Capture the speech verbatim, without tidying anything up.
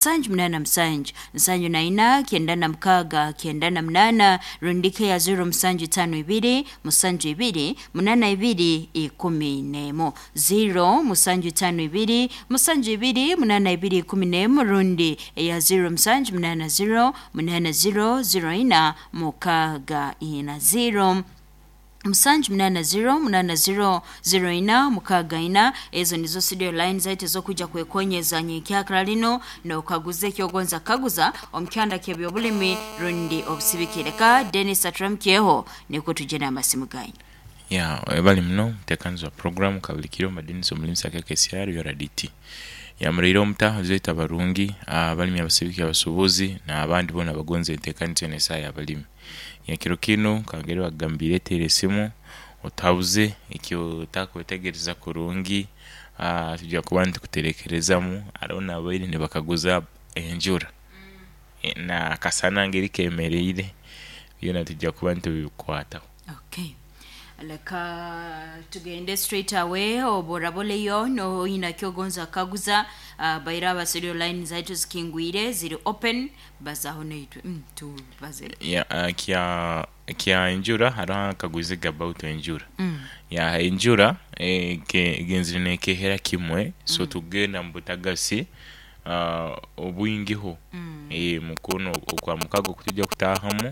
Musanju munaana musanju nsanju na ina kyenda na mukaaga kyenda na munaana, rundi ya zero musanju itaano ibiri musanju ibiri munaana ibiri ikumi n'emu, zero musanju itaano ibiri musanju ibiri munaana ibiri ikumi n'emu, rundi eya zero musanju munaana zero munaana zero zero ina mukaaga ina, zero musanju munaana zero munaana zero zero ina mukaaga ina. Ezo nizo studio line zaitu ez'okwija kwekonyeza nyenkyakara linu n'okaguza ekyogonza kukaguza omu kyanda ky'ebyobulimi rundi obusibiki. Leka Denis aturamukyeho nukwo tujye n'amasimu ganyu. Ya, webale muno mutekanizi wa program kabulikiro Denis omulimisa K K C R U R D T. Yamuraire omutaho zaitu abarungi, abalimi, abasibiki, abasubuzi n'abandi boona abagonza entekaniza enu esaaha y'abalimi. Ekiro kinu kangeri bagambire, teera esimu otuhabuze eki otakwetegereza kurungi, tujya kuba nitukuterekerezamu. Haroho n'abaire nibakaguza enjura n'akasana ngeri kemeriire, byona tujya kuba nitubikwataho. Okay, leka tugende straight away. Oboraboleyo noyina kyogonza kaguza, uh, baira aba studio line zaitu zikingwire, ziri open, bazaho naitwe mm, tubaze. Ya, uh, kya kya enjura, haroho akaguziga about enjura. mm. Ya, enjura eh, ke- genzire nekehera kimwe, so tugenda mu butagasi uh, obwingiho. Mm. eh, mukono okwa mukago kutujya kutahamu.